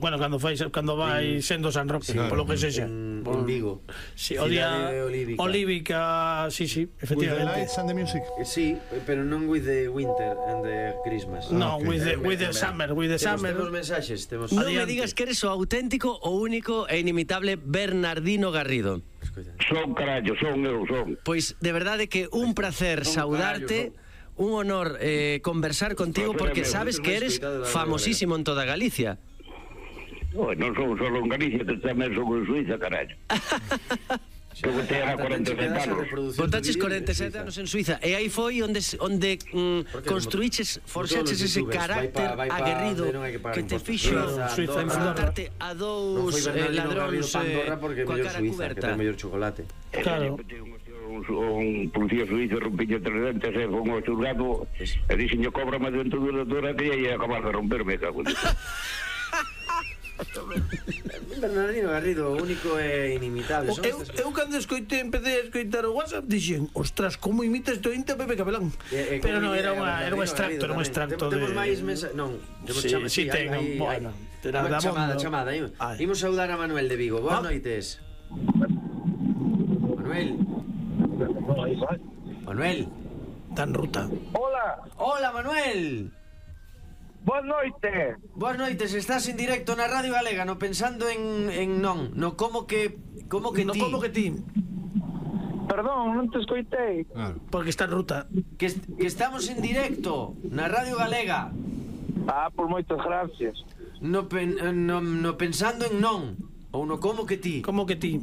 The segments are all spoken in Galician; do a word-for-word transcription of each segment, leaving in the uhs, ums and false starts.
Bueno, cando fai cando vai sendo San Roque, polo que sexa. En Vigo. Si, o día Olívica, sí, sí, efectivamente. With the lights and the music. Sí, pero non with the winter and the Christmas. No, with the with the summer, with the summer. Temos mensaxes, temos. Non me digas que eres o auténtico, o único e inimitable Bernardino Garrido. Son, carallo, son eu, son. Pois de verdade que un placer saudarte. Un honor eh, conversar contigo porque sabes que eres famosísimo en toda Galicia. No, non son solo en Galicia, tamén son en Suiza, carallo. Eu te era corenta e sete anos. Botaches corenta e sete anos en Suiza. E aí foi onde onde mm, construíches, forxaches ese carácter aguerrido que te fixo enfrontarte a dous ladróns coa cara cuberta. Que é o mellor chocolate. Claro. Un policía suizo rompiño tres dentes e foi un xulgado e dixenio cóbrame dentro dunha dura que ia acabar de romperme, cago en Bernardino Garrido, o único e inimitable. Eu, eu cando escoitei, empecé a escoitar o WhatsApp, dixen, ostras, como imita este ointe a Pepe Capelán. Eh, eh, Pero non, era, imita, unha, era un Bernardino extracto, Garrido era un tamén. extracto Tem- de... Temos máis mensajes, non, temos Sí, chama- sí, ten, hai- bueno, hai- terá Bueno, da chamada, bondo. chamada. Ai. Imos saudar a Manuel de Vigo. Boas Ah. noites. Manuel. Manuel. Tan ruta. Hola, Hola, Manuel. boas noites. Boas noites, estás en directo na Radio Galega, no pensando en, en non, no como que como que No ti, como que ti, Perdón, non te escoitei. porque está en ruta. que, est- que estamos en directo na Radio Galega, Ah, por moitas gracias. no, pen, no, no pensando en non, ou no como que ti. Como que ti.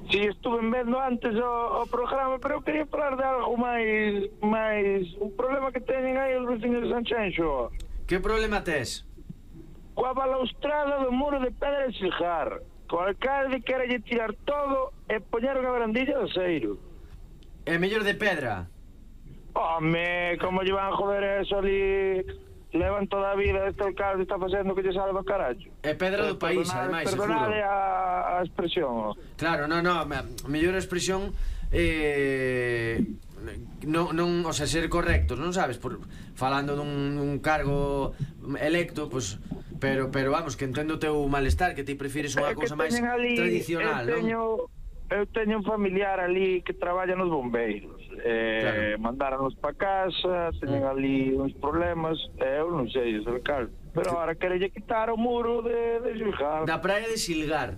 Si, estuve vendo antes o, o programa, pero eu quería falar de algo máis máis un problema que teñen aí os veciños de Sanxenxo. Que problema tes? Coa balaustrada do muro de pedra de Silgar. O alcalde quere tirar todo e poñer unha barandilla de aceiro. É mellor de pedra. Home, como lle van a joder eso ali? Levan toda a vida, este alcalde está facendo que lle sale do carallo. É pedra do país, ademais, seguro. Perdonade a, a expresión. Claro, no, no, a mellor expresión eh, non, non, o sea, ser correctos, non sabes, por, falando dun, dun cargo electo, pues, pero, pero vamos, que entendo o teu malestar, que ti prefires unha cousa máis tradicional, eu teño, non? eu teño un familiar ali que traballa nos bombeiros, eh, Claro. mandáronos pa casa, teñen ali uns problemas, e eu non sei, o alcalde, pero ahora querelle quitar o muro de, de Silgar. Da praia de Silgar.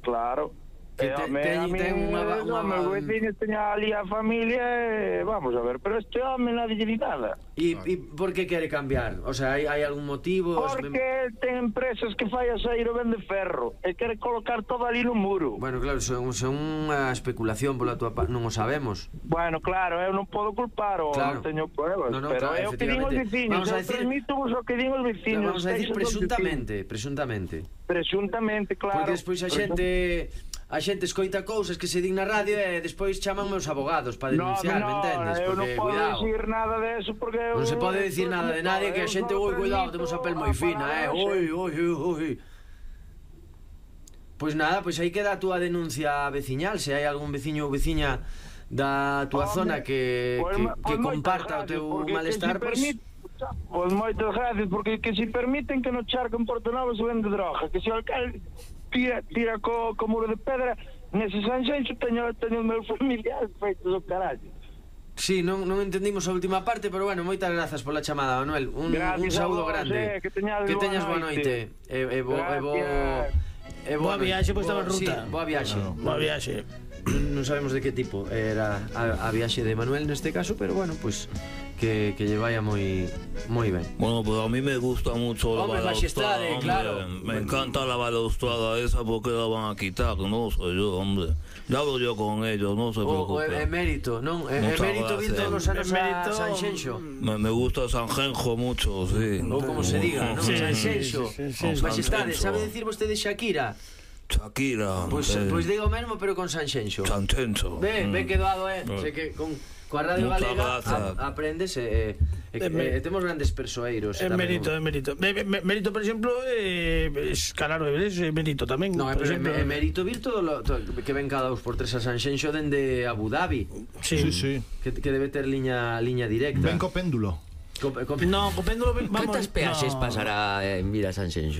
Claro. Que Eh, te- home, ten- a mí, ten unha- unha- o meu veciño teña ali a familia e vamos a ver, pero este home nadie lle di nada. E, e por que quere cambiar? O sea, hai, hai algún motivo? Porque ten empresas que fai aceiro vende ferro e quere colocar todo ali no muro. Bueno, claro, son, son unha especulación pola tua parte, non o sabemos. Bueno, claro, eu non podo culpar o Claro. non teño pruebas, No, no, pero claro, é o que din os efectivamente. veciños, Vamos a eu decir- transmito vos o que din os veciños. Vamos a decir textos dos presuntamente, presuntamente. veciños. Presuntamente, claro. Porque despois a xente a xente escoita cousas que se din na radio e despois chaman meus abogados para No, denunciar, no, me entendes? eu non Porque, podo cuidado, decir nada de eso porque eu... non se pode decir nada de nadie, que a eu xente, só ui, cuidado, transmito temos a pel moi a fina, eh, palabra, ui, ui, ui, ui. Pois nada, pois aí queda a túa denuncia veciñal, se hai algún veciño ou veciña da túa Home, zona que, pois que, ma- que pois moitas comparta o gracias, teu porque malestar, que si pois... permite- Pois moitas gracias, porque que si permiten que no charco en Porto Novo se vende droga, que se o alcalde tira, tira co, co muro de pedra, nese Sanxenxo teño, teño os meus familiares feitos do carallo. Sí, non, non entendimos a última parte, pero bueno, moitas grazas pola chamada, Manuel. Un, Gracias un a saúdo vos, grande. eh, que teñades que boa teñas boa noite. noite. E, e bo, e bo, Gracias. e Boa viaxe, pois estaba en Sí, ruta. boa viaxe. Boa viaxe. Non sabemos de que tipo era a, a viaxe de Manuel neste caso, pero bueno, pues que, que lle vaya moi moi ben. Bueno, pues a mí me gusta mucho la Hombre, balaustrada, majestade, hombre. claro. Me encanta la balaustrada esa porque la van a quitar, no soy yo, hombre. Ya hablo yo con ellos, no se O, o preocupe. emérito, non? E- Muchas Emérito vir gracias. todos os anos a Emérito- Sanxenxo. Me, me gusta Sanjenjo mucho, sí. Ou como se diga, non? Sí, Sanxenxo. sí, sí, sí, sí. Majestade, Sanxenxo. sabe decir vostede Shakira? Shakira. Pois eh, pois diga o mesmo, pero con Sanxenxo. Sanjenjo. Ve, ve Mm. quedado, eh. Mm. Sei que con coa Radio Muchas Galega grazas. a, aprendes e, e, e, Emer- e temos grandes persoeiros. É tamén. mérito, é mérito. Me- me- Mérito, por exemplo, eh, es, claro, é mérito tamén. No, é, por exemplo, é mérito vir todo, lo, todo que ven cada dos por tres a Sanxenxo dende Abu Dhabi, Sí, Sí, sí. que, que debe ter liña liña directa. Ven co péndulo. No, co péndulo... Cantas peaxes pasará en Vila Sanxenxo?